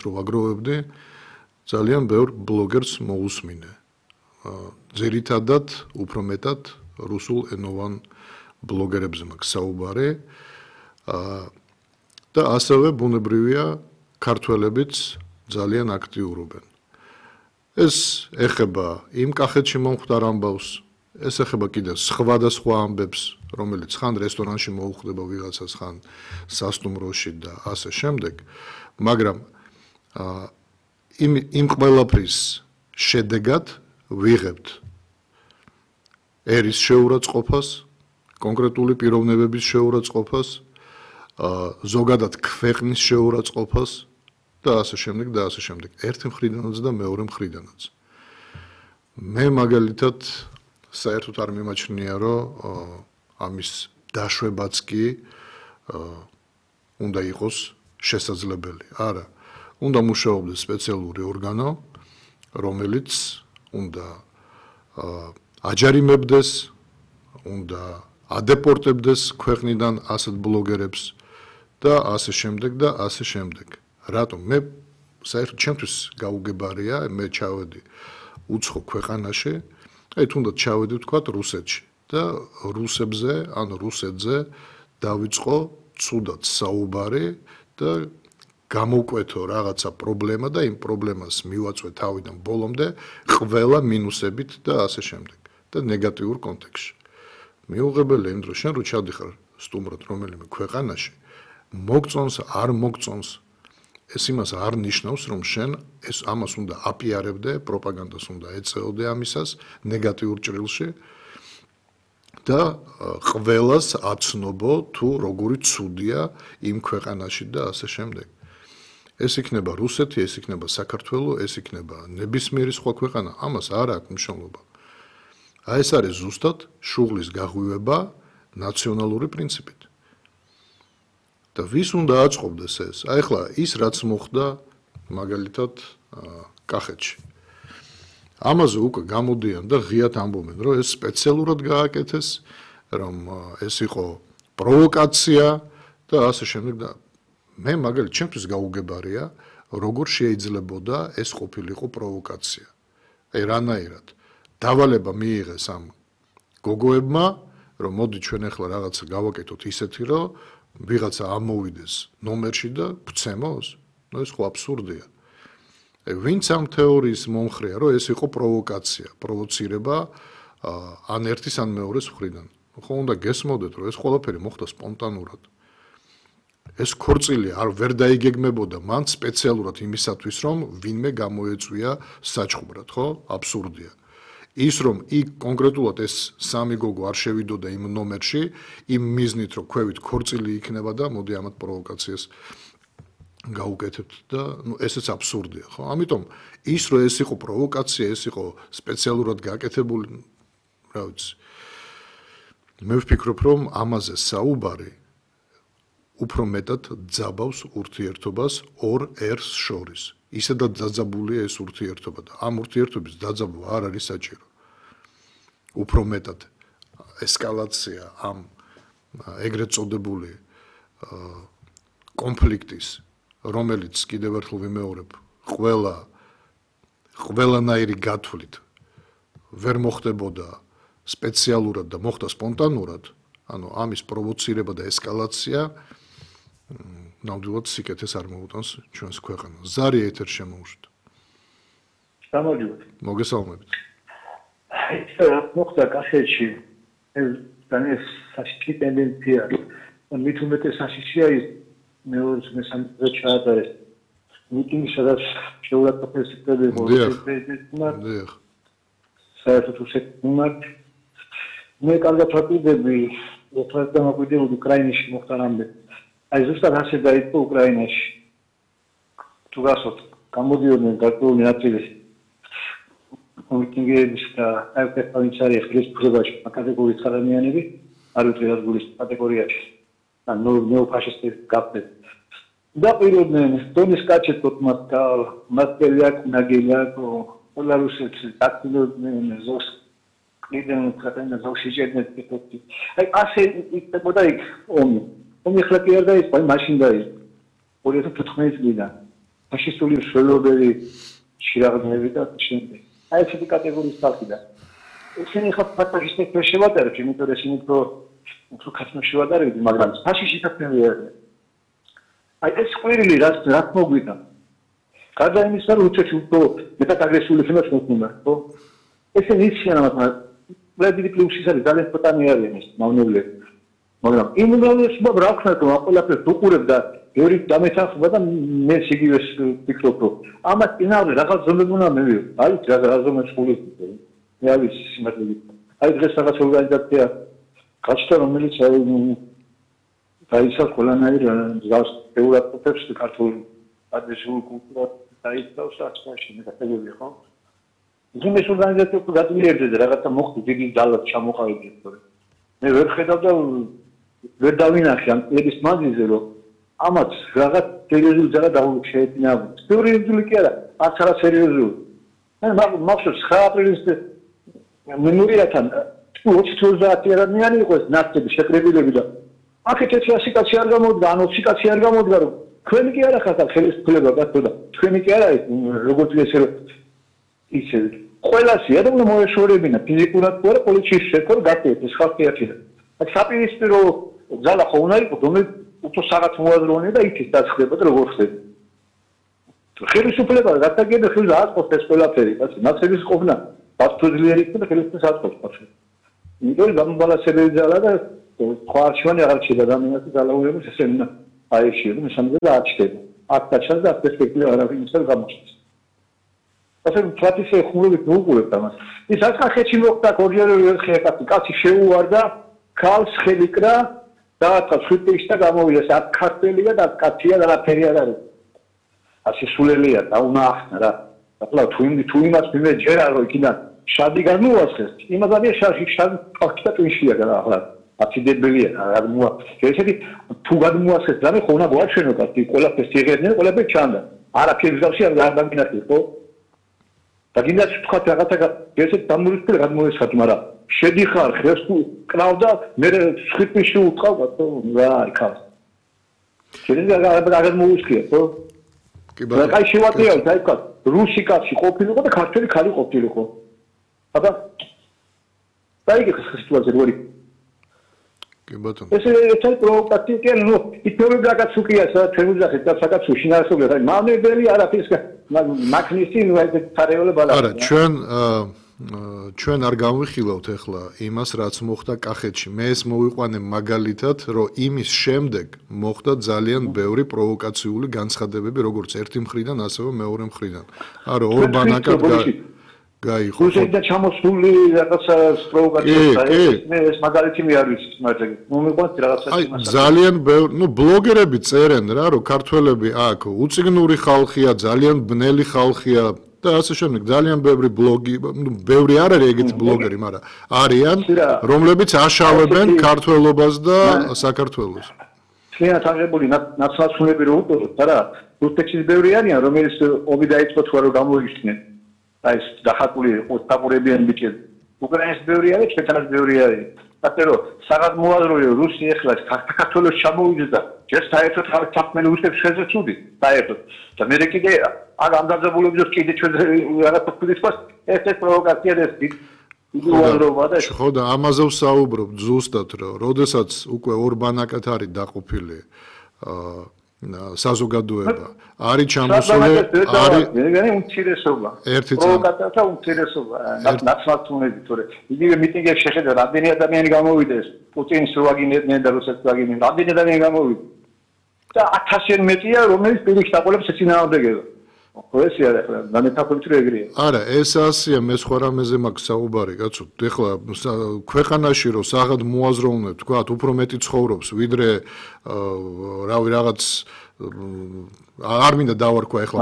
რო ვაგროვებდი, ძალიან ბევრ ბლოგერს მოусმინე. ძირითადად უფრო მეტად რუსულ ენოვან ბლოგერებზე მაქვს საუბარი და ასევე ბუნებრივია ქართველებიც ძალიან აქტიურობენ. ეს ეხება იმ კახეთში მომხდარ ამბავს, ეს ეხება კიდევ სხვადასხვა ამბებს, რომელიც ხან რესტორანში მოუხდება ვიღაცას, ხან სასტუმროში და ასე შემდეგ, მაგრამ იმ ყველაფრის შედეგად ვიღებთ ერის შეურაცხყოფას, კონკრეტული პიროვნებების შეურაცხყოფას, ზოგადად ქვეყნის შეურაცხყოფას და ასე შემდეგ და ასე შემდეგ. ერთი მხრიდანაც და მეორე მხრიდანაც. მე მაგალითად საერთოდ არ მიმაჩნია, რომ ამის დაშვებაც კი უნდა იყოს შესაძლებელი. არა, უნდა მუშაობდეს სპეციალური ორგანო, რომელიც უნდა აჯარიმებდეს, უნდა ადეპორტებდეს ქვეყნიდან ასეთ ბლოგერებს და ასე შემდეგ და ასე შემდეგ. რატომ? მე საერთოდ ჩემთვის გაუგებარია, მე ჩავედი უცხო ქვეყანაში, თუნდაც ჩავედი ვთქვათ რუსეთში და რუსებზე, ან რუსეთზე დავიწყო ცუდად საუბარი და გამოვკვეთო რაღაცა პრობლემა და იმ პრობლემას მივაწვე თავიდან ბოლომდე ყველა მინუსებით და ასე შემდეგ და ნეგატიურ კონტექსტში. მიუღებელია იმ დროს შენ რო ჩადიხარ სტუმრად რომელიმე ქვეყანაში, მოგწონს, არ მოგწონს, ეს იმას არ ნიშნავს, რომ შენ ამას უნდა აპიარებდე, პროპაგანდას უნდა ეწეოდე ამისას ნეგატიურ ჭრილში და ყველას აცნობო თუ როგორი ცუდია იმ ქვეყანაში და ასე შემდეგ. ეს იქნება რუსეთი, ეს იქნება საქართველო, ეს იქნება ნებისმიერი სხვა ქვეყანა, ამას არ აქვს მნიშვნელობა. ეს არის ზუსტად შუღლის გაღვივება ნაციონალური პრინციპით. და ვის უნდა აწყობდეს ეს? ახლა ის რაც მოხდა მაგალითად კახეთში. ამაზე უკვე გამოდიან და ღიად ამბობენ, რომ ეს სპეციალურად გააკეთეს, რომ ეს იყო პროვოკაცია და ასე შემდეგ და მე მაგალითად ჩემთვის გაუგებარია, როგორ შეიძლებოდა ეს ყოფილიყო პროვოკაცია. აი რანაირად დავალება მიიღეს ამ გოგოებმა, რომ მოდი ჩვენ ახლა რაღაცა გავაკეთოთ ისეთი, რომ ვიღაცა ამოვიდეს ნომერში და გვცემოს? ნუ ეს ხო აბსურდია. ვინც ამ თეორიის მომხრეა, რომ ეს იყო პროვოკაცია, პროვოცირება ან ერთის ან მეორეს მხრიდან. ხო უნდა გესმოდეთ, რომ ეს ყველაფერი მოხდა სპონტანურად. ეს ქორწილი არ ვერ დაიგეგმებოდა მან სპეციალურად იმისათვის, რომ ვინმე გამოეწვია საჩხუბრად, ხო? აბსურდია. ის რომ იქ კონკრეტულად ეს სამი გოგო არ შევიდოდა იმ ნომერში, იმ მიზნით, რომ ქვევით ქორწილი იქნება და მოდი ამათ პროვოკაციას გაუკეთებთ და ესეც აბსურდია, ხო? ამიტომ ის რომ ეს იყო პროვოკაცია, ეს იყო სპეციალურად გაკეთებული, რა ვიცი. მე ვფიქრობ, რომ ამაზე საუბარი უფრო მეტად ძაბავს ურთიერთობას ორ ერს შორის. ისედაც დაძაბულია ეს ურთიერთობა და ამ ურთიერთობის დაძაბვა არ არის საჭირო. უფრო მეტად ესკალაცია ამ ეგრეთ წოდებული კონფლიქტის, რომელიც კიდევ ერთხელ ვიმეორებ, ყველანაირი გათვლით ვერ მოხდებოდა სპეციალურად და მოხდა სპონტანურად, ანუ ამის პროვოცირება და ესკალაცია ნამდვილად სიკეთეს არ მოუტანს ჩვენს ქვეყანას. ზარი ეთერ შემოუშვით. გამარჯობა. მოგესალმებით. მოხდა კახეთში ეს საშიში ტენდენცია. მით უმეტეს საშიშია ის მეორე მესამე ჩაატარეს. მიტინგი სადაც შეურაცხყოფეს საერთოდ უსეკმართ. მე კარგად ვაკვირდები, ეხლა დამაკვირდებული უკრაინაში მოხდა რამდენი. აი ზუსტად ასე დაიწყო უკრაინაში. თუ გასვათ, გამოდიოდნენ გარკვეული ნაწილი მიტინგების და აეროპორტში ხლის ფუძებაში კატეგორიის ხარანიანები, არ ვიცი რა გულის კატეგორიაში. ან ნეოფაშისტი გაფეთ. დაპიროდნენ დონის კაჩეტკოთ მასკელიაკ ნაგელიაკ პოლარუსეთს დაკნოდნენ ზოს კიდენ ხატენა ზოში ჭედნეთ პიტოტი. აი ასე იქნებოდა იქ ომი. ომი ხლა კი არ დაიწყო, მაშინ დაიწყო. 2014 წლიდან. ფაშისტული მსვლელობელი შირაღმები და შემდეგ. აი ესეთი კატეგორიის ხალხი და ესენი ხა ფაშისტებს ვერ შევატარებთ, იმიტომ რომ ესენი უფრო ქართულად შევატარებთ, მაგრამ ფაშისტი თქმები არიან. აი ეს ყვირილი რაც მოგვიდა. გარდა იმისა, რომ უცებ უფრო მეტად აგრესიული ხმას მოხდა, ხო? ესენი იციან ამათ, პრეზიდენტი პლუსის არის ძალიან პოტანი არიან ეს მავნებლები. მაგრამ იმ უმრავლესობა რა ქნა რომ ყველაფერს უყურებ და ბევრი დამეთანხმება და მე იგივე ვფიქრობ რომ ამას წინააღმდეგ რაღაც ზომები უნდა მივიღო. აი რა ზომებს ხულობ. მე არის სიმართლე. აი დღეს რაღაც ორგანიზაცია გაჩნდა რომელიც დაიცავს ყველანაირ მსგავს ევროპელებს ქართულ ადრესულ კულტურას დაიცავს ასაში მეტად ხო? ის ორგანიზაცია თუ გადმიერდება რაღაცა მოხდა დიდი ძალა ჩამოყალიბდა თორე მე ვერ ხედავ და ვერ დავინახე ამ წლების მანძილზე რომ ამათ რაღაც სერიოზული ძალა შეეწინააღმდეგა. სერიოზული კი არა, არც არა სერიოზული. მე მახსოვს 9 აპრილის მემორიათან 20-30 ადამიანი იყო ეს ნაცები შეკრებილები და აქეთ ერთი ასიკაცი არ გამოდგა, ან 20 კაცი არ გამოდგა რომ თქვენი კი არა ხართ ხელისუფლება გასწოდა. თქვენი კი არა როგორც ესე რომ ისე ყველასი ადამიანი მოეშორებინა ფიზიკურად თუ არა პოლიციის შექმნა გაკეთეს ეს ხალხი ერთია. აქ საპირისპირო ძალა ხო უნდა იყოს რომელიც უფრო რაღაც მოაზროვნე და იქით დაცხდება და როგორ ხდება. ხელისუფლება გასაგებია ხელს აწყობს ეს ყველაფერი, ასე ნაცების ყოფნა ბაცოძლიერი იქნება და ხელისუფლებას აწყობს პასუხი. იმიტომ გამბალანსებელი ძალა და სხვა არჩევანი აღარ შეიძლება ადამიანის ძალაურების ესე უნდა აეშიოს მესამედზე და აჩდება. აქ დაჩას და პერსპექტივა არავინ ისე გამოჩნდეს. ასე პრაქტიკაში ხუმრობით უყურებთ ამას. ის ახახეთში მოხდა ორჯერ კაცი შეუვარდა ქალს ხელიკრა და სვიტეში და გამოვიდა ეს ქართველია და კაცია და რაფერი არ არის. ასე სულელია და უნდა ახსნა რა. ახლა თუ იმას მიმეჯერა რომ იქიდან შადი გამოასხეს. იმას არის შადი პაქტა ტვიშია და ახლა აციდებელია რა მოა. ესეთი თუ გამოასხეს და მე ხო უნდა გვაჩვენო კაცი ყველაფერს იღებდნენ ყველაფერი ჩანდა. არაფერი გავსი არ დამინახე ხო? და გინდა თქვა რაღაცა ესეთ დამურისპირ გადმოესხათ, მაგრამ შედიხარ ხეს კრავდა მე სხიტში უთხავდა რა იქა. შეიძლება აღარ მოუსკია ხო? კი ბატონო. აი შევატირავ და იქა რუსი კაცი ყოფილიყო და ქართველი ქალი ყოფილიყო. აბა დაიგე სიტუაცია როგორი. კი ბატონო. ეს პროვოკაცია კი ნუ ისევ რაღაც უკია თემუძახეთ და საკაც უშინარესობია. აი მავნებელი არაფერს მაგნისი ნუ ეს თარეოლე ბალა. არა ჩვენ არ გამვიხილავთ ახლა იმას რაც მოხდა კახეთში. მე ეს მოვიყვანე მაგალითად რომ იმის შემდეგ მოხდა ძალიან ბევრი პროვოკაციული განცხადებები როგორც ერთი მხრიდან ასევე მეორე მხრიდან. არა ორბანაკად გაიხო. რუსეთიდან ჩამოსული რაღაცა პროვოკაცია მე ეს მაგალითი მე არ ვიცი მაგრამ მომიყვანთ რაღაცა იმას. ძალიან ბევრი ნუ ბლოგერები წერენ რა რომ ქართველები აქ უციგნური ხალხია, ძალიან ბნელი ხალხია და ასე შემდეგ ძალიან ბევრი ბლოგი, ნუ ბევრი არ არის ეგეთი ბლოგერი, მაგრამ არიან რომლებიც აშავებენ ქართველობას და საქართველოს. შეიძლება თაღებული ნაცნაცულები რო უყუროთ არა რუსეთში ბევრი არიან რომელიც ომი დაიწყო თუ არა გამოიშდნენ. აი ეს დახატული ოსტაპურებიან ბიჭები. უკრაინის ბევრი არის, ჩვენთანაც ბევრი არის. ასე რომ საღად მოაზროე რუსი ეხლა საქართველოს ჩამოვიდა ჯერ საერთოდ თქმელი უსებს შეზე ცუდი საერთოდ. და მე კიდე არ ამდაძებულობდეს კიდე ჩვენ რაღაცა თქვით ეს პროვოკაცია ეს იდეოლოგია და ხო და ამაზე ვსაუბრობ ზუსტად რომ როდესაც უკვე ორბანაკად არის დაყოფილი საზოგადოება არის ჩამოსული არის მე უმცირესობა პროვოკაცია უმცირესობა ნაცნაცულები თორე იგივე მიტინგებში შეხედა რამდენი ადამიანი გამოვიდეს პუტინს რო აგინებდნენ და რუსეთს აგინებდნენ რამდენი ადამიანი გამოვიდა და 1000-იან მეტია რომელიც პირიქით აყოლებს ეცინააღმდეგება ხო ეს არის ახლა დამეთახვით რო ეგრეა არა ეს ასია მე სხვა რამეზე მაქვს საუბარი კაცო ეხლა ქვეყანაში რო საღად მოაზროვნებ თქვა უფრო მეტი ცხოვრობს ვიდრე რავი რაღაც არ მინდა დავარქვა ეხლა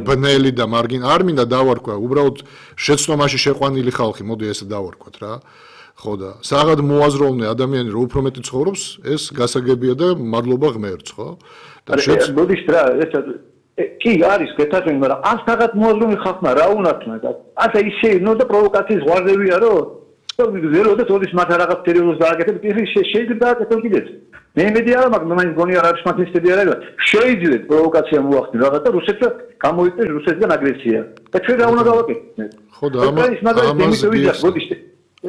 ბნელი და მარგინ არ მინდა დავარქვა უბრალოდ შეცდომაში შეყვანილი ხალხი მოდი ესე დავარქვათ რა ხო და საღად მოაზროვნე ადამიანი რო უფრო მეტი ცხოვრობს ეს გასაგებია და მადლობა ღმერთს ხო და მოდის რა ეს კი არის გეთახმები მაგრამ ან საღად მოაზროვნე ხალხმა რა უნდა თქმა და ასე ისე ნუ და პროვოკაციის ზღვარდებია რომ ზეროდეთ ოდის მათ რაღაც სერიოზს დააკეთებ ის შეიძლება დააკეთო კიდეც მე იმედი არა მაქვს, მაინც გონია რა შმათისტები არა, შეიძლება პროვოკაცია მოახდინოს რაღაც და რუსეთს გამოიწვიოს რუსეთიდან აგრესია. და ჩვენ რა უნდა გავაკეთოთ? ხო და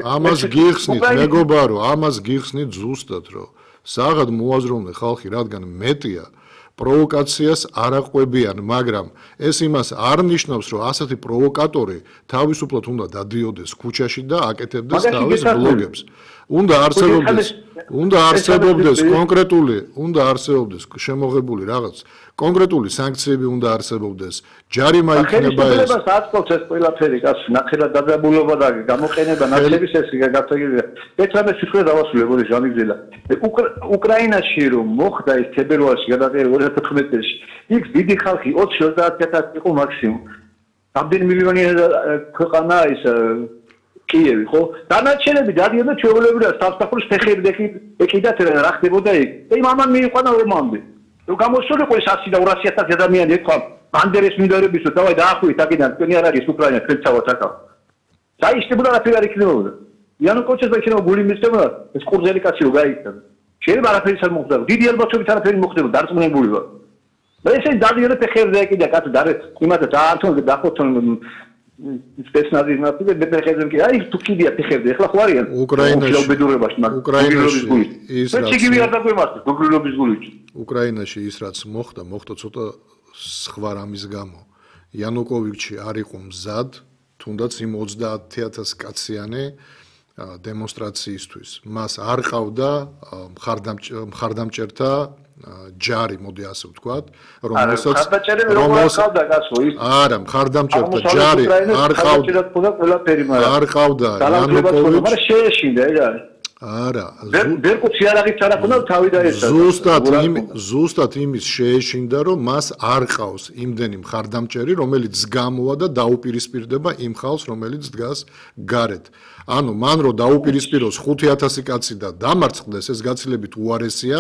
ამას გიხსნით, მეგობარო, ამას გიხსნით ზუსტად, რომ საღად მოაზროვნე ხალხი, რადგან მეტია პროვოკაციას არ აყვებიან, მაგრამ ეს იმას არ ნიშნავს, რომ ასეთი პროვოკატორი თავისუფლად უნდა დადიოდეს ქუჩაში და აკეთებდეს თავის ბლოგებს. უნდა არსებობდეს შემოღებული რაღაც კონკრეტული სანქციები უნდა არსებობდეს. ჯარიმა იქნება ეს. ხელისუფლებას აწყობს ეს ყველაფერი, კაცო, ნახევრად დაძაბულობა და გამოყენება ნაცლების ეს გასაგებია. ეცამე სიტყვა დავასრულებ ჟამიგზელა. უკრაინაში რომ მოხდა ეს თებერვალში გადაყერა 2014 წელს, იქ დიდი ხალხი 20-30,000 იყო მაქსიმუმ. რამდენი მილიონი ქვეყანა ის კიევი, ხო? დანარჩენები დადიოდა ჩვეულებრივად სამსახურის ფეხები ეკიდათ რა ხდებოდა იქ. და იმ ამან მიიყვანა რომამდე. რომ გამოსულიყო ეს 100 და 200,000 ადამიანი ეთქვა ბანდერეს მინდორების რომ დავაი დაახვით აქედან თქვენი არ არის უკრაინა თქვენ თავად აკავ. დაიშლებოდა რა ფერი არ იქნებოდა. იანუკოვიჩს დაიქნება გული მისცემოდა ეს ყურძელი კაცი რო გაიქცა. შეიძლება არაფერი არ მოხდა. დიდი ალბათობით არაფერი მოხდება დარწმუნებული ვარ. და ესე დადიოდა ფეხებზე ეკიდა კაცი და იმადა დაართონ დახოთონ სპეცნაზი მე ფეხებზე კი აი თუ კიდია ფეხებზე ეხლა ხო არიან უკრაინაში ის რაც მოხდა ცოტა სხვა რამის გამო იანუკოვიჩი არ იყო მზად თუნდაც იმ 30,000 კაციანი დემონსტრაციისთვის მას არ ყავდა მხარდამჭერთა ჯარი, მოდი ასე ვთქვათ, რომელსაც არა, მხარდამჭერთა ჯარი არ ყავდა იანუკოვიჩი, მაგრამ შეეშინდა ეგ არის. არა, ვერკუცი არ აღიცა რა ქონდა თავი დაეცა. ზუსტად იმის შეეშინდა, რომ მას არ ყავს იმდენი მხარდამჭერი, რომელიც გამოვა და დაუპირისპირდება იმ ხალხს, რომელიც დგას გარეთ. ანუ მან რო დაუპირისპიროს 5,000 კაცი და დამარცხდეს, ეს გაცილებით უარესია,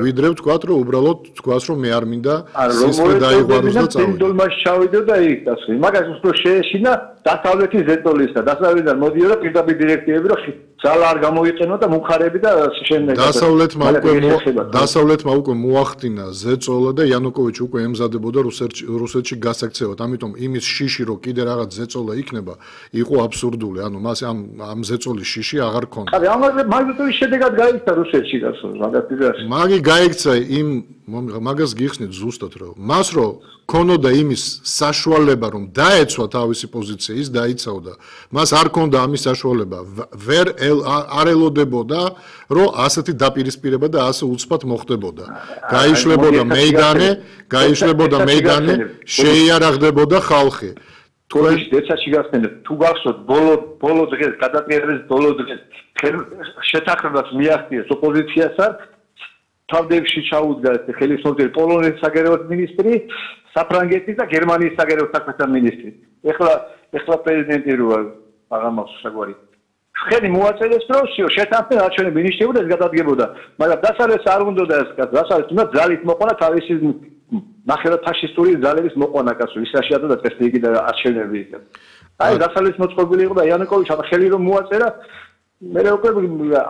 ვიდრე ვთქვათ, რომ უბრალოდ თქვას, რომ მე არ მინდა სისხლი დაიღვაროს და წავიდე. დოლმაში ჩავიდე და იქ დასვი. მაგას უბრალოდ შეეშინა დასავლეთის ზეტოლისა. დასავლეთიდან მოდიოდა პირდაპირ დირექტივები, რომ ძალა არ გამოიყენო და მუხარები და შემდეგ დასავლეთმა უკვე მოახდინა ზეწოლა და იანუკოვიჩი უკვე ემზადებოდა რუსეთში გასაქცევად. ამიტომ იმის შიში რომ კიდე რაღაც ზეწოლა იქნება, იყო აბსურდული. ანუ მას ამ ზეწოლის შიში აღარ ქონდა. არა, მაგის შედეგად გაიქცა რუსეთში გასულ მაგათი. მაგი გაიქცა მაგას გიხსნით ზუსტად რომ მას რო ქონოდა იმის საშუალება რომ დაეცვა თავისი პოზიცია ის დაიცავდა. მას არ ქონდა ამის საშუალება. ვერ არ ელოდებოდა რომ ასეთი დაპირისპირება და ასე უცბად მოხდებოდა. გაიშლებოდა მეიდანე, შეიარაღდებოდა ხალხი. თქვენ დეცაში გახსენებთ თუ გახსოვთ ბოლო დღეს გადატრიალების ბოლო დღეს შეთანხმებას მიაღწიეს ოპოზიციასთან თავდებში ჩაუდგა ხელისმომწერი პოლონეთის საგარეო მინისტრი საფრანგეთის და გერმანიის საგარეო საქმეთა მინისტრი ეხლა პრეზიდენტი როა აღამავს საგვარი ხელი მოაწერეს რომ შეთანხმება არჩევნები ნიშნებოდა ეს გადადგებოდა მაგრამ დასავლეთს არ უნდა ეს დასავლეთს უნდა ძალით მოყვანა თავისი ნახევრად ფაშისტური ძალების მოყვანა კაცო ის რა შეადო და წესრიგი და არჩევნები იქ აი დასავლეთის მოწყობილი იყო და იანუკოვიჩი ამ ხელი რომ მოაწერა მე უკვე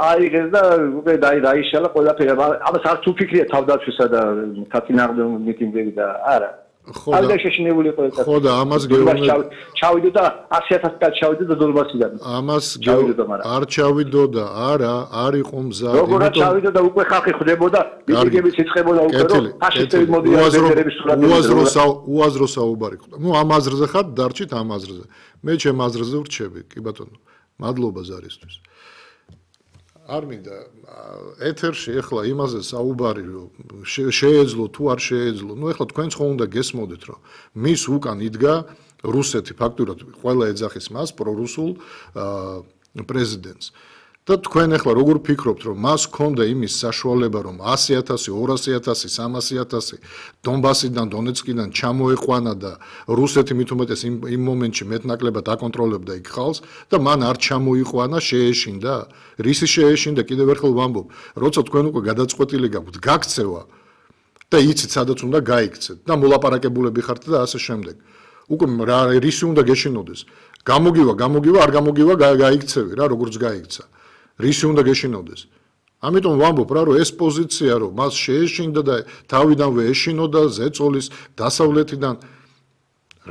აიღეს და უკვე დაიშალა ყველაფერი ამას არც უფიქრია თავდაცვისა და თათინაღმდო მიტინგები და არა არ შეშინებული იყო ეს ხო და ამას ჩავიდო და 100,000 კაცი ჩავიდო და დოლბასიდან ამას არ ჩავიდო და არა არ იყო მზად როგორ ჩავიდო და უკვე ხალხი ხვდებოდა მიტინგებიც იწყებოდა უკვე რომ ფაშისტები მოდიან ბენდერების სურათები უაზრო საუბარი ხდება ნუ ამ აზრზე ხარ დარჩით ამ აზრზე მე ჩემ აზრზე ვრჩები კი ბატონო მადლობა ზარისთვის არ მინდა ეთერში ეხლა იმაზე საუბარი რომ შეეძლო თუ არ შეეძლო ნუ ეხლა თქვენც ხო უნდა გესმოდეთ რომ მის უკან იდგა რუსეთი ფაქტურად ყველა ეძახის მას პრორუსულ პრეზიდენტს და თქვენ ეხლა როგორ ფიქრობთ რომ მას ჰქონდა იმის საშუალება რომ 100,000 200,000 300,000 დონბასიდან დონეცკიდან ჩამოეყვანა და რუსეთი მით უმეტეს იმ მომენტში მეტნაკლებად აკონტროლებდა იქ ხალხს და მან არ ჩამოიყვანა შეეშინდა რისი შეეშინდა კიდევ ერთხელ ვამბობ როცა თქვენ უკვე გადაწყვეტილი გაქვთ გაქცევა და იცით სადაც უნდა გაიქცეთ და მოლაპარაკებულები ხართ და ასე შემდეგ უკვე რისი უნდა გეშინოდეს გამოგივა არ გამოგივა გაიქცევი რა როგორც გაიქცა რისი უნდა გეშინოდეს ამიტომ ვამბობ რა რომ ეს პოზიცია რომ მას შეეშინდა და თავიდანვე ეშინოდა ზეწოლის დასავლეთიდან